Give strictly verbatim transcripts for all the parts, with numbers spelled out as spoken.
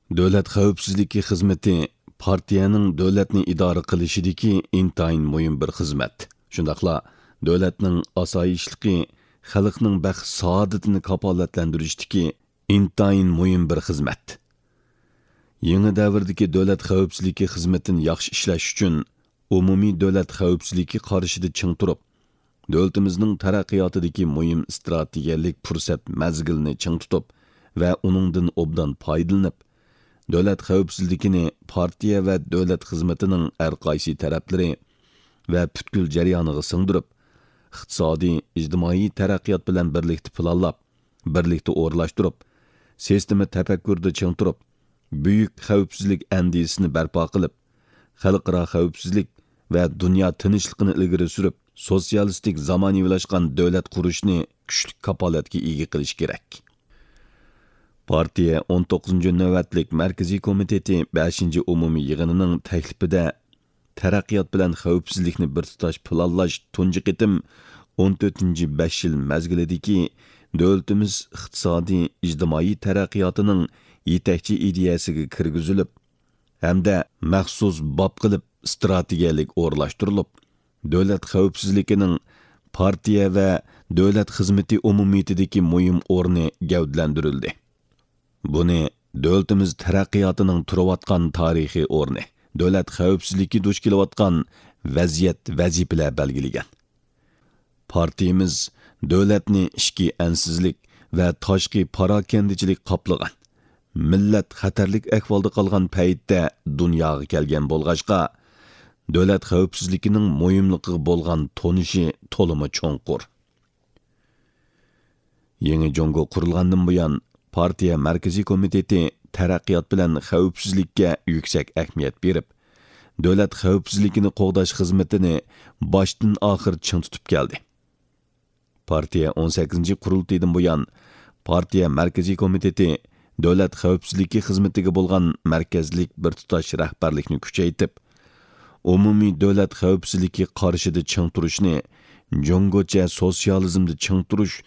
دۆلەت خەۋپسىزلىكى خىزمىتى پارتىيەنىڭ دۆلەتنى ئىدارە قىلىشىدىكى ئىنتايىن مۇھىم بىر خىزمەت. شۇنداقلا دۆلەتنىڭ ئاسايىشلىقى، خەلقنىڭ بەخت-سائادىتىنى كاپالەتلەندۈرۈشتىكى ئىنتايىن مۇھىم بىر خىزمەت. يېڭى دەۋردىكى دۆلەت خەۋپسىزلىكى خىزمىتىنى ياخشى ئىشلەش ئۈچۈن، ئومۇمىي دۆلەت خەۋپسىزلىكى قارىشىدا چىڭ تۇرۇپ، دۆلىتىمىزنىڭ تەرەققىياتىدىكى مۇھىم ئىستراتېگىيەلىك پۇرسەت مەزگىلىنى چىڭ تۇتۇپ ۋە ئۇنىڭدىن ئوبدان پايدىلىنىپ، دۆلەت خەۋپسىزلىكىنى پارتىيە ۋە دۆلەت خىزمىتىنىڭ ھەر قايسى تەرەپلىرى ۋە پۈتكۈل جەريانىغا سىڭدۈرۈپ، ئىقتىسادىي، ئىجتىمائىي تەرەققىيات بىلەن بىرلىكتە پىلانلاپ، بىرلىكتە ئورۇنلاشتۇرۇپ، سىستېما تەپەككۇرىدا چىڭ تۇرۇپ، بۈيۈك خەۋپسىزلىك ئەندىزىسىنى بەرپا قىلىپ، خەلقئارا خەۋپسىزلىك ۋە دۇنيا تىنچلىقىنى ئىلگىرى سۈرۈپ، سوتسىيالىستىك زامانىۋىلاشقان دۆلەت قۇرۇشنى كۈچلۈك كاپالەتكە ئىگە قىلىش كېرەك. پارتىيە ئون توققۇزىنچى نۆۋەتلىك مەركىزىي كومىتېتى بەشىنچى ئومۇمىي يىغىنىنىڭ تەكلىپىدە تەرەققىيات بىلەن خەۋپسىزلىكنى بىر تۇتاش پىلانلاش تۇنجى قېتىم ئون تۆتىنچى بەش يىل مەزگىلىدىكى دۆلىتىمىز ئىقتىسادىي، ئىجتىمائىي تەرەققىياتىنىڭ يېتەكچى ئىدىيەسىگە كىرگۈزۈلۈپ ھەمدە مەخسۇس باب قىلىپ ئىستراتېگىيەلىك ئورۇنلاشتۇرۇلۇپ، دۆلەت خەۋپسىزلىكىنىڭ پارتىيە ۋە دۆلەت خىزمىتى ئومۇمىيىتىدىكى مۇھىم ئورنى گەۋدىلەندۈرۈلدى. بۇنى دۆلىتىمىز تەرەققىياتىنىڭ تۇرۇۋاتقان تارىخىي ئورنى، دۆلەت خەۋپسىزلىكى دۇچ كېلىۋاتقان ۋەزىيەت، ۋەزىپىلەر بەلگىلىگەن. پارتىيىمىز دۆلەتنى ئىچكى ئەنسىزلىك ۋە تاشقى پاراكەندىچىلىك قاپلىغان، مىللەت خەتەرلىك ئەھۋالدا قالغان پەيتتە دۇنياغا كەلگەن بولغاچقا، دۆلەت خەۋپسىزلىكىنىڭ مۇھىملىقىغا بولغان تونۇشى تولىمۇ چوڭقۇر. يېڭى جۇڭگو قۇرۇلغاندىن بۇيان، پارتىيە مەركىزىي كومىتېتى تەرەققىيات بىلەن خەۋپسىزلىككە يۈكسەك ئەھمىيەت بېرىپ، دۆلەت خەۋپسىزلىكىنى قوغداش خىزمىتىنى باشتىن ئاخىر چىڭ تۇتۇپ كەلدى. پارتىيە ئون سەككىزىنچى قۇرۇلتىيىدىن بۇيان، پارتىيە مەركىزىي كومىتېتى دۆلەت خەۋپسىزلىكى خىزمىتىگە بولغان مەركەزلىك بىر تۇتاش رەھبەرلىكنى كۈچەيتىپ، ئومۇمىي دۆلەت خەۋپسىزلىكى قارىشىدا چىڭ تۇرۇشنى جۇڭگوچە سوتسىيالىزمدا چىڭ تۇرۇش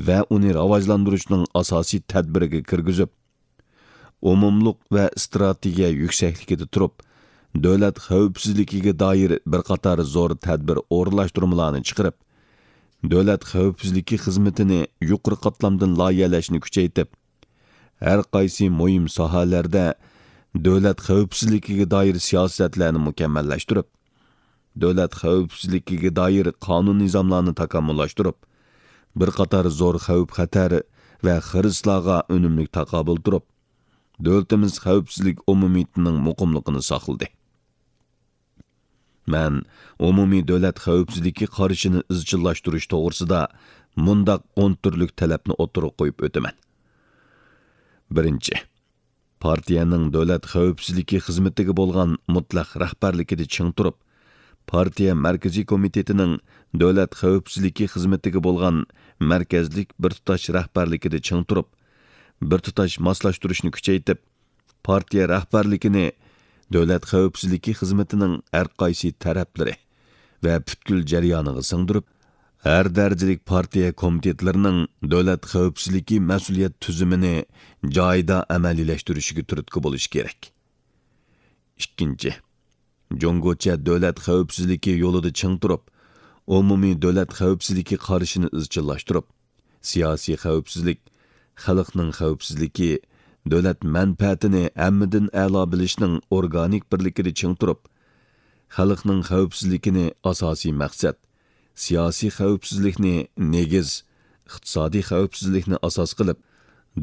ۋە ئۇنى راۋاجلاندۇرۇشنىڭ ئاساسىي تەدبىرىگە كىرگۈزۈپ، ئومۇملۇق ۋە ئىستراتېگىيە يۈكسەكلىكىدە تۇرۇپ، دۆلەت خەۋپسىزلىكىگە دائىر بىر قاتار زور تەدبىر ئورۇنلاشتۇرمىلارنى چىقىرىپ، دۆلەت خەۋپسىزلىكى خىزمىتىنى يۇقىرى قاتلامدىن لايىھەلەشنى كۈچەيتىپ، ھەر قايسى مۇھىم ساھەلەردە دۆلەت خەۋپسىزلىكىگە دائىر سىياسەتلەرنى مۇكەممەللەشتۈرۈپ، دۆلەت خەۋپسىزلىكىگە دائىر قانۇن نىزاملارنى تاكامۇللاشتۇرۇپ، بىر قاتار زور خەۋپ-خەتەر ۋە خىرىسلارغا ئۈنۈملۈك تاقابىل تۇرۇپ، دۆلىتىمىز خەۋپسىزلىك ئومۇمىيىتىنىڭ مۇقىملىقىنى ساقلىدى. مەن ئومۇمىي دۆلەت خەۋپسىزلىكى قارىشىنى ئىزچىللاشتۇرۇش توغرىسىدا مۇنداق ئون تۈرلۈك تەلەپنى ئوتتۇرىغا قويۇپ ئۆتىمەن. بىرىنچى، پارتىيەنىڭ دۆلەت خەۋپسىزلىكى خىزمىتىگە بولغان مۇتلەق رەھبەرلىكىدە چىڭ تۇرۇپ، پارتىيە مەركىزىي كومىتېتىنىڭ دۆلەت خەۋپسىزلىكى خىزمىتىگە بولغان مەركەزلىك بىر تۇتاش رەھبەرلىكىدە چىڭ تۇرۇپ، بىر تۇتاش ماسلاشتۇرۇشنى كۈچەيتىپ، پارتىيە رەھبەرلىكىنى دۆلەت خەۋپسىزلىكى خىزمىتىنىڭ ھەر قايسى تەرەپلىرى ۋە پۈتكۈل جەريانىغا سىڭدۈرۈپ، ھەر دەرىجىلىك پارتىيە كومىتېتلىرىنىڭ دۆلەت خەۋپسىزلىكى مەسئۇلىيەت تۈزۈمىنى جايىدا ئەمەلىيلەشتۈرۈشىگە تۈرتكە بولۇش كېرەك. ئىككىنچى، جۇڭگوچە دۆلەت خەۋپسىزلىكى يولىدا چىڭ تۇرۇپ، ئومۇمىي دۆلەت خەۋپسىزلىكى قارىشىنى ئىزچىللاشتۇرۇپ، سىياسىي خەۋپسىزلىك، خەلقنىڭ خەۋپسىزلىكى، دۆلەت مەنپەئەتىنى ھەممىدىن ئەلا بىلىشنىڭ ئورگانىك بىرلىكىدە چىڭ تۇرۇپ، خەلقنىڭ خەۋپسىزلىكىنى ئاساسىي مەقسەت، سىياسىي خەۋپسىزلىكنى نېگىز، ئىقتىسادىي خەۋپسىزلىكنى ئاساس قىلىپ،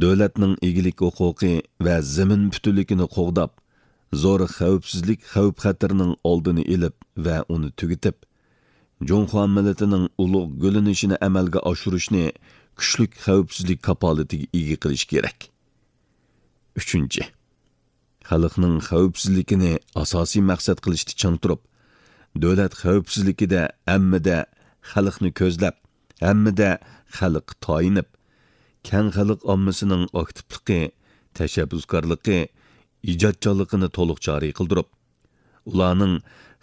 دۆلەتنىڭ ئىگىلىك ھوقۇقى ۋە زېمىن پۈتۈنلۈكىنى قوغداپ، زور خەۋپسىزلىك خەۋپ-خەتىرىنىڭ ئالدىنى ئېلىپ ۋە ئۇنى تۈگىتىپ، جۇڭخۇا مىللىتىنىڭ ئۇلۇغ گۈللىنىشىنى ئەمەلگە ئاشۇرۇشنى كۈچلۈك خەۋپسىزلىك كاپالىتىگە ئىگە قىلىش كېرەك. ئۈچىنچى، خەلقنىڭ خەۋپسىزلىكىنى ئاساسىي مەقسەت قىلىشتا چىڭ تۇرۇپ، دۆلەت خەۋپسىزلىكىدە ھەممىدە خەلقنى كۆزلەپ، ھەممىدە خەلققە تايىنىپ، كەڭ خەلق ئاممىسىنىڭ ئاكتىپلىقى، تەشەببۇسكارلىقى، ئىجادچانلىقىنى تولۇق جارى قىلدۇرۇپ، ئۇلارنىڭ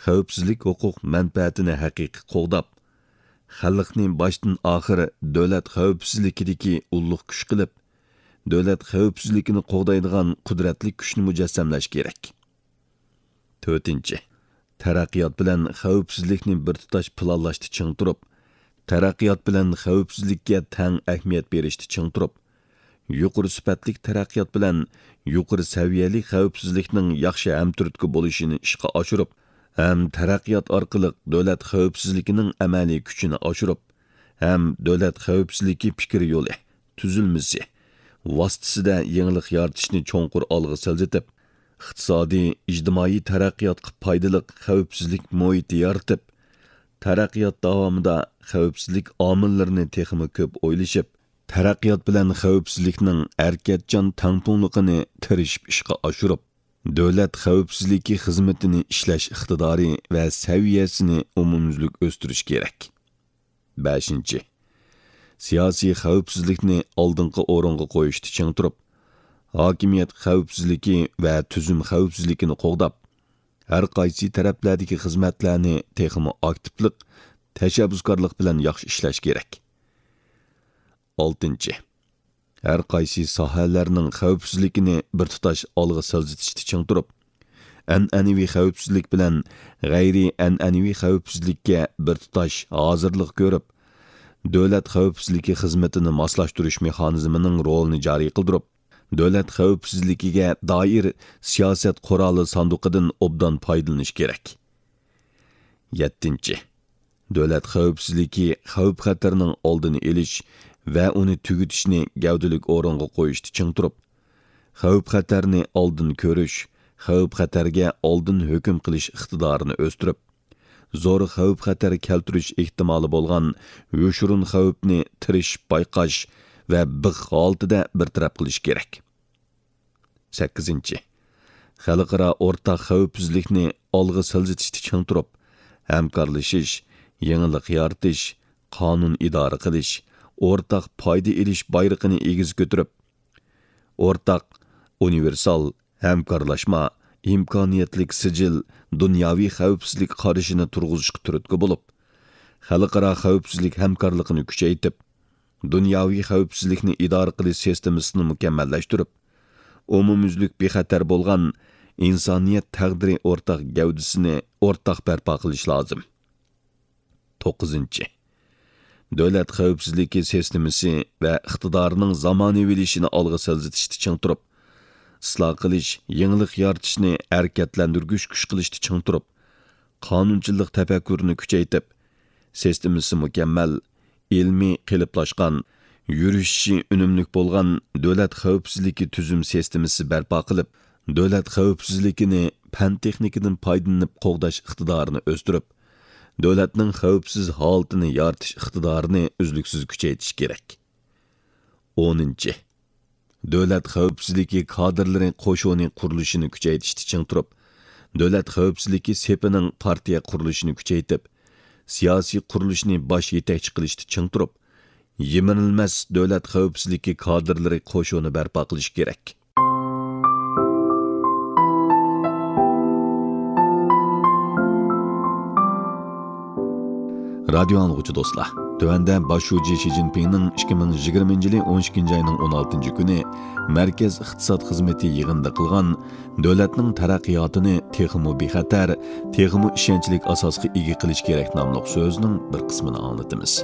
خەۋپسىزلىك ھوقۇق مەنپەئەتىنى ھەقىقىي قوغداپ، خەلقنى باشتىن ئاخىر دۆلەت خەۋپسىزلىكىدىكى ئۇللۇق كۈچ قىلىپ، دۆلەت خەۋپسىزلىكىنى قوغدايدىغان قۇدرەتلىك كۈچنى مۇجەسسەملەش كېرەك. تۆتىنچى، تەرەققىيات بىلەن خەۋپسىزلىكنى بىر تۇتاش پىلانلاشتا چىڭ تۇرۇپ، تەرەققىيات بىلەن خەۋپسىزلىككە تەڭ ئەھمىيەت بېرىشتا چىڭ تۇرۇپ، يۇقىرى سۈپەتلىك تەرەققىيات بىلەن يۇقىرى سەۋىيەلىك خەۋپسىزلىكنىڭ ياخشى ھەمتۈرتكە بولۇشىنى ئىشقا ئاشۇرۇپ، ھەم تەرەققىيات ئارقىلىق دۆلەت خەۋپسىزلىكىنىڭ ئەمەلىي كۈچىنى ئاشۇرۇپ، ھەم دۆلەت خەۋپسىزلىكى پىكىر يولى، تۈزۈلمىسى، ۋاسىتىسىدە يېڭىلىق يارىتىشنى چوڭقۇر ئالغا سىلجىتىپ، ئىقتىسادىي، ئىجتىمائىي تەرەققىياتقا پايدىلىق خەۋپسىزلىك مۇھىتى يارىتىپ، تەرەققىيات داۋامىدا خەۋپسىزلىك ئامىللىرىنى تېخىمۇ كۆپ ئويلىشىپ، تەرەققىيات بىلەن خەۋپسىزلىكنىڭ ھەرىكەتچان تەڭپۇڭلۇقىنى تىرىشىپ ئىشقا ئاشۇرۇپ، دۆلەت خەۋپسىزلىكى خىزمىتىنى ئىشلەش ئىقتىدارى ۋە سەۋىيەسىنى ئومۇميۈزلۈك ئۆستۈرۈش كېرەك. بەشىنچى، سىياسىي خەۋپسىزلىكنى ئالدىنقى ئورۇنغا قويۇشتا چىڭ تۇرۇپ، ھاكىمىيەت خەۋپسىزلىكى ۋە تۈزۈم خەۋپسىزلىكىنى قوغداپ، ھەر قايسى تەرەپلەردىكى خىزمەتلەرنى تېخىمۇ ئاكتىپلىق، تەشەببۇسكارلىق بىلەن ياخشى ئىشلەش كېرەك. ئالتىنچى، ھەر قايسى ساھەلەرنىڭ خەۋپسىزلىكىنى بىر تۇتاش ئالغا سىلجىتىشتا چىڭ تۇرۇپ، ئەنئەنىۋى خەۋپسىزلىك بىلەن غەيرىي ئەنئەنىۋى خەۋپسىزلىككە بىر تۇتاش ھازىرلىق كۆرۈپ، دۆلەت خەۋپسىزلىكى خىزمىتىنى ماسلاشتۇرۇش مېخانىزمىنىڭ رولىنى جارى قىلدۇرۇپ، دۆلەت خەۋپسىزلىكىگە دائىر سىياسەت قورالى ساندۇقىدىن ئوبدان پايدىلىنىش كېرەك. يەتتىنچى، دۆلەت خەۋپسىزلىكى خەۋپ-خەتەرنىڭ ئالدىنى ئېلىش ۋە ئۇنى تۈگىتىشنى گەۋدىلىك ئورۇنغا قويۇشتا چىڭ تۇرۇپ، خەۋپ-خەتەرنى ئالدىن كۆرۈش، خەۋپ-خەتەرگە ئالدىن ھۆكۈم قىلىش ئىقتىدارىنى ئۆستۈرۈپ، زور خەۋپ-خەتەر كەلتۈرۈش ئېھتىمالى بولغان يوشۇرۇن خەۋپنى تىرىشىپ بايقاش ۋە بىخ ھالىتىدە بىر تەرەپ قىلىش كېرەك. سەككىزىنچى، خەلقئارا ئورتاق خەۋپسىزلىكنى ئالغا سىلجىتىشتا چىڭ تۇرۇپ، ھەمكارلىشىش، يېڭىلىق يارىتىش، قانۇن ئىدارە قىلىش، ئورتاق پايدا ئېلىش بايرىقىنى ئېگىز كۆتۈرۈپ، ئورتاق، ئۇنىۋېرسال، ھەمكارلاشما، ئىمكانىيەتلىك سىجىل، دۇنياۋى خەۋپسىزلىك قارىشىنى تۇرغۇزۇشقا تۈرتكە بولۇپ، خەلقئارا خەۋپسىزلىك ھەمكارلىقىنى كۈچەيتىپ، دۇنياۋى خەۋپسىزلىكنى ئىدارە قىلىش سىستېمىسىنى مۇكەممەللەشتۈرۈپ، ئومۇميۈزلۈك بىخەتەر بولغان ئىنسانىيەت تەقدىرى ئورتاق گەۋدىسىنى ئورتاق بەرپا قىلىش لازىم. توققۇزىنچى، دۆلەت خەۋپسىزلىكى سىستېمىسى ۋە ئىقتىدارىنىڭ زامانىۋىلىشىشىنى ئالغا سىلجىتىشتا چىڭ تۇرۇپ، ئىسلاھ قىلىش، يېڭىلىق يارىتىشنى ھەرىكەتلەندۈرگۈچ كۈچ قىلىشتا چىڭ تۇرۇپ، قانۇنچىللىق تەپەككۇرىنى كۈچەيتىپ، سىستېمىسى مۇكەممەل، ئىلمىي قېلىپلاشقان، يۈرۈشۈشى ئۈنۈملۈك بولغان دۆلەت خەۋپسىزلىكى تۈزۈم سىستېمىسى بەرپا قىلىپ، دۆلەت خەۋپسىزلىكىنى پەن-تېخنىكىدىن پايدىلىنىپ قوغداش ئىقتىدارىنى ئۆستۈرۈپ، دۆلەتنىڭ خەۋپسىز ھالىتىنى يارىتىش ئىقتىدارىنى ئۈزلۈكسىز كۈچەيتىش كېرەك. ئونىنچى، دۆلەت خەۋپسىزلىكى كادىرلىرى قوشۇنى قۇرۇلۇشىنى كۈچەيتىشتە چىڭ تۇرۇپ، دۆلەت خەۋپسىزلىكى سېپىنىڭ پارتىيە قۇرۇلۇشىنى كۈچەيتىپ، سىياسىي قۇرۇلۇشنى باش يېتەكچى قىلىشتا چىڭ تۇرۇپ، يىمىرىلمەس دۆلەت خەۋپسىزلىكى كادىرلىرى قوشۇنى بەرپا قىلىش كېرەك. رادىيو ئاڭلىغۇچى دوستلار، تۆۋەندە باش شۇجى شى جىنپىڭنىڭ ئىككى مىڭ يىگىرمىنچى يىلى ئون ئىككىنچى ئاينىڭ ئون ئالتىنچى كۈنى مەركەز ئىقتىساد خىزمىتى يىغىنىدا قىلغان دۆلەتنىڭ تەرەققىياتىنى تېخىمۇ بىخەتەر، تېخىمۇ ئىشەنچلىك ئاساسقا ئىگە قىلىش كېرەك ناملىق سۆزىنىڭ بىر قىسمىنى ئاڭلىتىمىز.